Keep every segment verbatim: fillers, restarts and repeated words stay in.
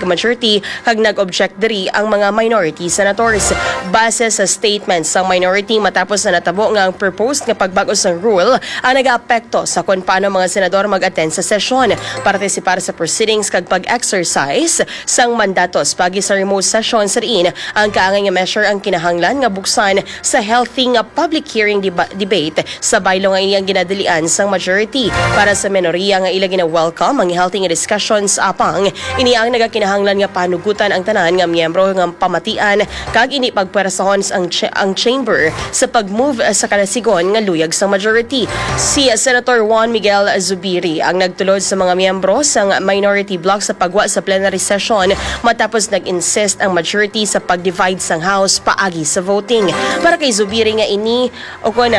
majority kag nag-object diri ang mga minority senators. Base sa statement sang minority, matapos na natabo nga ang proposed nga pagbag-o sang rule ang nagaapekto sa kon paano mga senador mag-attend sa sesyon, partisipar sa proceedings kag pag-exercise sang mandatos paagi sa remote session, sa diin ang kaangay nga measure ang kinahanglan nga buksan sa healthy nga public hearing deba- debate sa bylaw nga ini ang ginadalian sang majority. Para sa minoriya nga ila gina-welcome ang healthy nga discussions, apang ini ang nagakinahanglan nga panugutan ang tanan nga miyembro nga pamatian kag ini pagpwersahon ang, cha- ang chamber sa pag-move sa kalasigon nga luyag sang majority. Si Senator Juan Miguel Zubiri ang nagtulod sa mga miyembro sang minority bloc sa pagwa sa plenary session matapos nag-insist ang majority sa pag-divide sang House paagi sa voting. Para kay Zubiri nga ini, o kon,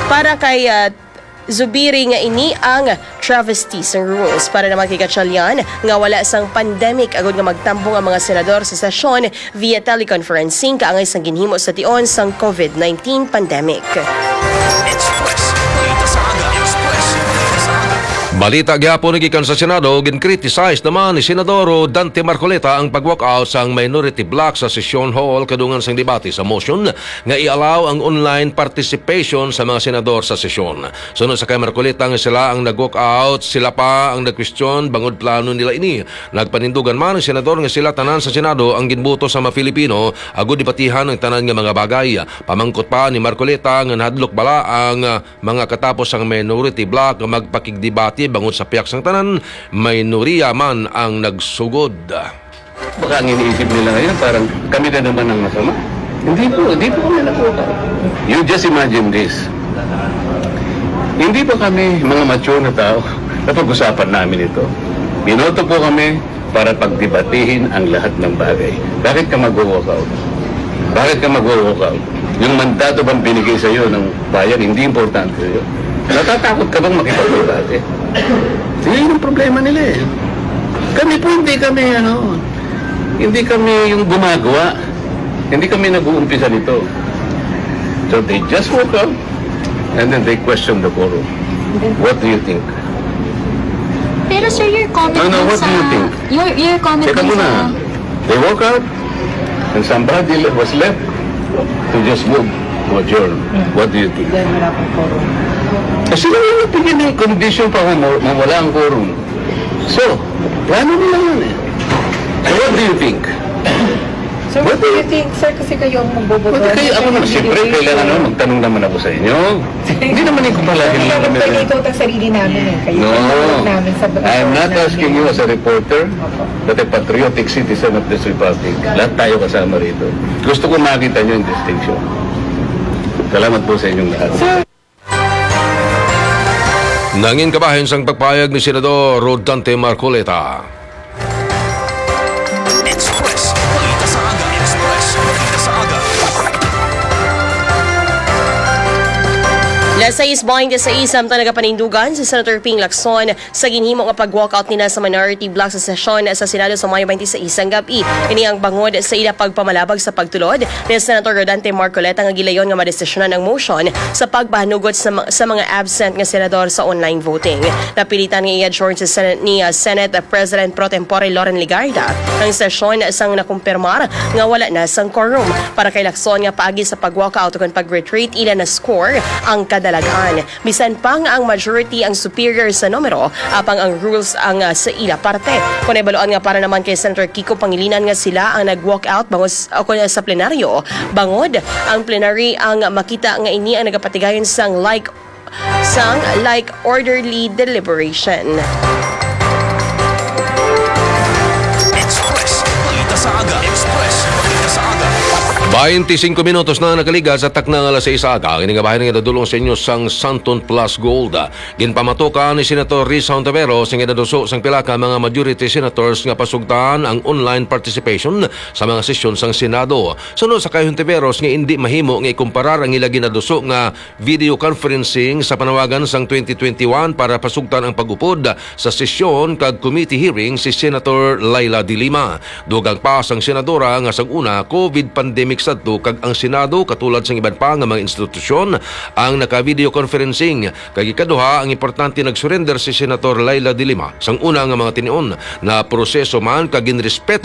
para kay, ah, Zubiri nga ini ang travesty sang rules. Para naman kay Gatchalian nga wala sang pandemic agud nga magtambong ang mga senador sa sesyon via teleconferencing kaangay sang ginhimo sa tion sang covid nineteen pandemic. Express. Balita sa aga. Express. Balita sa aga. Balita gyapon gikan sa Senado, gin-criticize naman ni Senador Dante Marcoleta ang pag-walkout sang minority bloc sa session hall kadungan sang debate sa motion nga i-allow ang online participation sa mga senador sa sesyon. Suno sa kay Marcoleta nga sila ang nag-walkout, sila pa ang nagkwestiyon bangod plano nila ini. Nagpanindugan man ang senador nga sila tanan sa Senado ang ginbuto sa mga Filipino agud debatihan ang tanan nga mga bagay. Pamangkot pa ni Marcoleta nga nahadlok bala ang, ah, mga katapos ang minority bloc nga magpakigdebate bangod sa pihak sang tanan, minoriya man ang nagsugod. Baka ang iniisip nila ngayon, parang kami na naman ang masama. Hindi po, hindi po kami nag-walkout. You just imagine this. Hindi pa kami mga mature na tao na pag-usapan namin ito. Binoto po kami para pagdebatihin ang lahat ng bagay. Bakit ka mag-walkout? Bakit ka mag-walkout? Yung mandato bang binigay sa iyo ng bayan, hindi importante sa iyo? Natatakot ka bang makipagdebate? Yun yung problema nila eh. Kami po, hindi kami, ano, hindi kami yung gumagawa. Hindi kami nag-uumpisa nito. So they just walk out and then they question the quorum. What do you think? Pero sir, your comment No, no, dun what do you sa, think? your, your comment Teka dun muna. sa They walk out and somebody le- was left to just move to adjourn. What do you think? Dahil wala pang quorum. Kasi sila yung nagbigay ng condition para ma- mawala ang quorum. So, plano nila yun eh. So what do you think? So, what do you think, sir? Kasi kayo ang magboboto. Well, kayo, ako naman, siyempre, kailangan naman magtanong naman ako sa inyo. Hindi naman yung palagi Hindi naman naman kami pwede ito ang sarili namin eh. Kayo No. ang namin sa I'm not namin. asking you as a reporter, Opo. but a patriotic citizen of this republic. Lahat tayo kasama rito. Gusto ko makita nyo yung distinction. Salamat po sa inyong lahat. Sir, Nangin kabahin sang pagpayag ni Senador Rodante Marcoleta. Express. Balita sa aga. Express. Balita sa aga. Las sais baynte sais, samtang nagapanindugan si Senator Ping Lacson sa ginhimo nga pag-walkout nila sa minority bloc sa sesyon sa Senado sa Mayo baynte sais sang gab-i. Ini ang bangod sa ila pagpamalabag sa pagtulod ni Senator Rodante Marcoleta nga gilayon nga madesisyonan ang motion sa pagpahanugot sa, ma- sa mga absent nga senador sa online voting. Napilitan nga i-adjourn sa Senate ni, ah, Senate President Pro Tempore Loren Legarda ang sesyon sang nakumpirmar nga wala na sang quorum. Para kay Lacson nga paagi sa pag-walkout ukon pag-retreat, ila na score ang kadalagan. Bisan pa nga ang majority ang superior sa numero, apang ang rules ang, ah, sa ila parte. Kon ibaluan nga para naman kay Senator Kiko Pangilinan nga sila ang nag-walk out bangod s- o kon sa plenaryo, bangod ang plenary ang makita nga ini ang nagapatigayon sang like sang like orderly deliberation. Express. Balita sa aga. Express. Balita sa aga. Baynte singko minutos na nakaligas sa takna nga alas sais sa aga. Kini nga bahin nga nadulong sa inyo sang Santon Plus Gold. Ginpamatukan ni Senator Risa Hontiveros nga ginaduso sang pila ka mga majority senators nga pasugtan ang online participation sa mga sesyon sang Senado. Suno sa kay Hontiveros nga indi mahimo nga ikumparar ang ila ginaduso nga video conferencing sa panawagan sang twenty twenty-one para pasugtan ang pag-upod sa sesyon kag committee hearing si Senator Leila de Lima. Dugang pa sang senadora nga sang una, covid pandemic sadto kag ang Senado katulad sang iban pa nga mga institusyon ang naka-video conferencing. Kag ikaduha, ang importante, nagsurrender si Senator Leila de Lima sang una nga mga tinion. Naproseso man kag ginrespeto